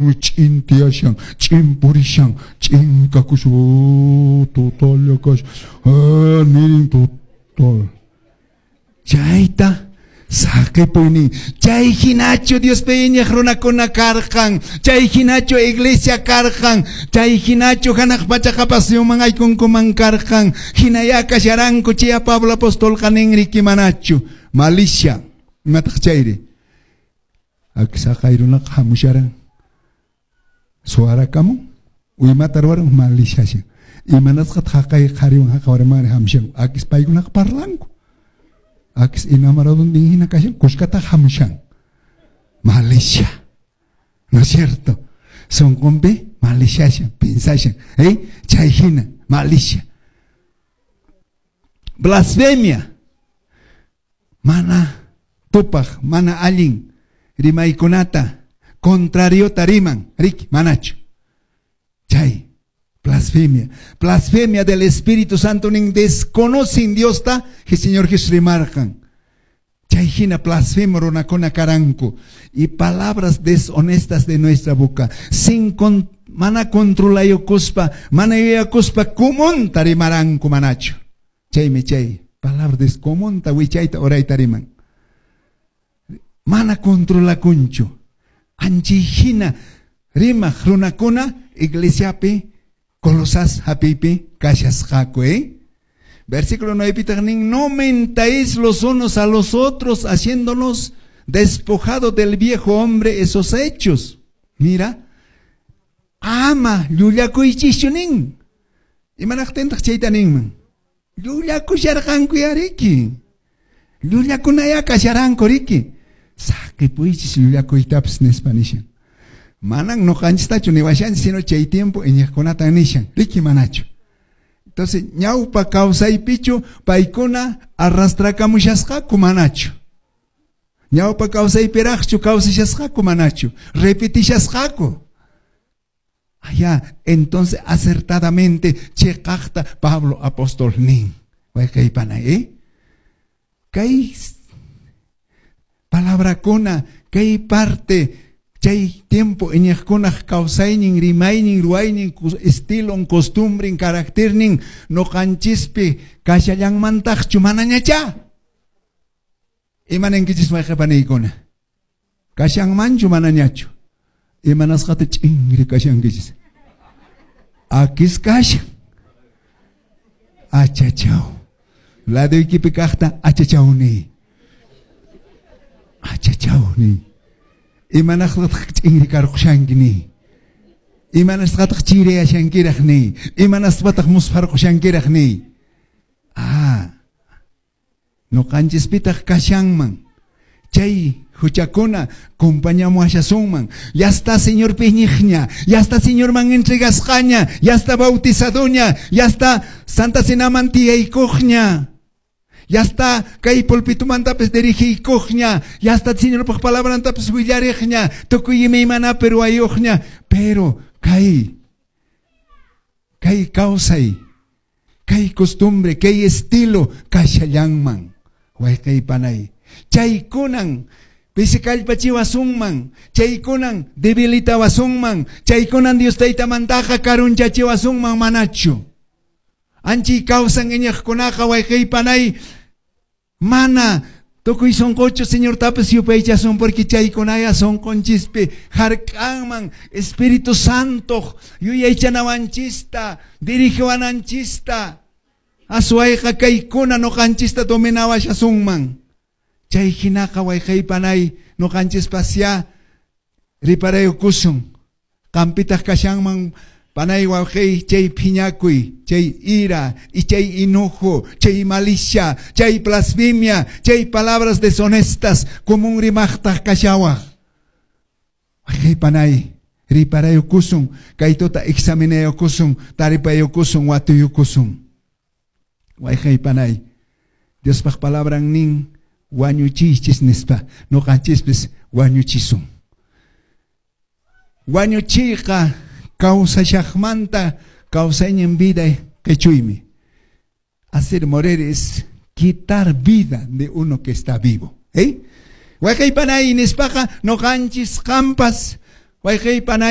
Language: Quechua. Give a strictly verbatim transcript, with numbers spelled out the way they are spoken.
Ch'in tiyashan, ch'in purishan, ch'in kakushan, total kashan, nin total. Chayta saqipuynin. Chay hinachu Diospi iñiq runakuna karqan, chay hinachu iglesia karqan, chay hinachu hanaq pacha qhapaqsuyuman aykunkuman karqan, hinaya kasharanku chay Pablo apostolqa ninriki manachu. Malicia, imataq chayri? Haqay runaqa hamusharan. Suwarakamun, imata ruwaran maliciashan. Imanasqataq haqay qhariwan haqay warmiwan hamushan. Akis paykunaqa parlanku. Akis enamoradontin hina kashan, kuskataq hamushan. Malicia. ¿No es cierto? Sonqonpi maliciashan, pensashan. ¿Eh? Chay hina, malicia. Blasfemia. Mana tupaq, mana allin rimaykunata contrariota riman, riki, manachu. Chay, blasfemia. Blasfemia del Espíritu Santo nin desconocen Diosta, que Señor Jesús rimarqan. Chay hina blasfemo runakuna karanku. Y palabras deshonestas de nuestra boca. Sin con, mana controlayukuspa, mana yuyakuspa kumunta rimaranku manachu. Chaymi chay, palabras descomunta wichayta urayta riman. Mana controlakunchu. Anchay hina rimaq runakuna iglesiapi Colosas hap'ipi kashasqaku, eh? Versículo nueve nin, no mentáis los unos a los otros, haciéndonos despojado del viejo hombre esos hechos. Mira, ama llullakuychischu nin. Imanaqtintaq chayta ninman? Llullakusharqanku ya riki. Llullakunaya kasharanku riki. Saqipuychis llullakuytapas nispa nishan. Manan noqanchistachu niwashanchis, sino chay tiempo iñiqkunata nishan. Riki manachu. Entonces, ñawpa kawsaypichu paykuna arrastrakamushasqaku manachu. Ñawpa kawsaypiraqchu kawsashasqaku manachu. Repetishasqaku. Allá, entonces acertadamente cheqaqta Pablo apóstol nin. Wayqaypana, eh? Kay palabrakuna, kay parte chay tiempo iñiqkunaq kawsaynin, rimaynin, ruwaynin, estilon, costumbren, carácternin noqanchispi kashallanmantaqchu manañacha. Imaninkichis wayqipaniykuna? Kashanmanchu manañachu? Imanasqata ch'inri kashankichis? Akis kashan. Achachaw. Ladoykipi kaqta achachaw niy. Achachaw niy. Imanasqataq ch'inri karqushanki niy. Imanasqataq chiriyashankiraq niy. Imanasqataq muspharqushankiraq niy. Ah. Noqanchispitaq kashanman. Chay huchakuna compañamuashasunman. Ya está Señor iñiqña, ya está Señorman entregasqaña, ya está bautizadoña, ya está Santa Cenaman tiyaykuqña. Ya está kay pulpitumantapis dirigiykuqña, ya está Señorpaq palabrantapis willariqña, tukuy imaymanapi ruwayuqña, pero kay kay kawsay, kay costumbre, kay estilo kashallanman. Wayqaypanay. Chaykunan pisi kallpachiwasunman, chaykunan debilitawasunman, chaykunan Dios taytamantaqa karunchachiwasunman manachu. Anchi kawsan iñiqkunaqa wayqaypanay mana tukuy sunquchu Señortapas yupaychasun porque chaykunaya sunqunchispi hark'anman Espíritu Santo yuyaychanawanchista, dirigiwananchista. Aswayqa kaykuna noqanchista dominawashasunman. Chay hinaqa wayqaypanay noqanchispasya riparaykusun. Qampitaq kashanman panay wawqey chay phiñakuy, chay ira, y chay enojo, chay malicia, chay blasfemia, chay palabras deshonestas, común rimaqtaq kashawaq. Wayqaypanay riparaykusun, kaytuta examinaykusun, taripaykusun, watuykusun. Wayqaypanay, Diospaq palabran nin wañuchiychis nispa, noqanchispis wañuchisun. Wañuchiyqa kawsashaqmanta kawsaynin vida qechuymi. Hacer morir es quitar vida de uno que está vivo. ¿Eh? Wayqaypanay nispaqa noqanchis qampas Wayqey panay.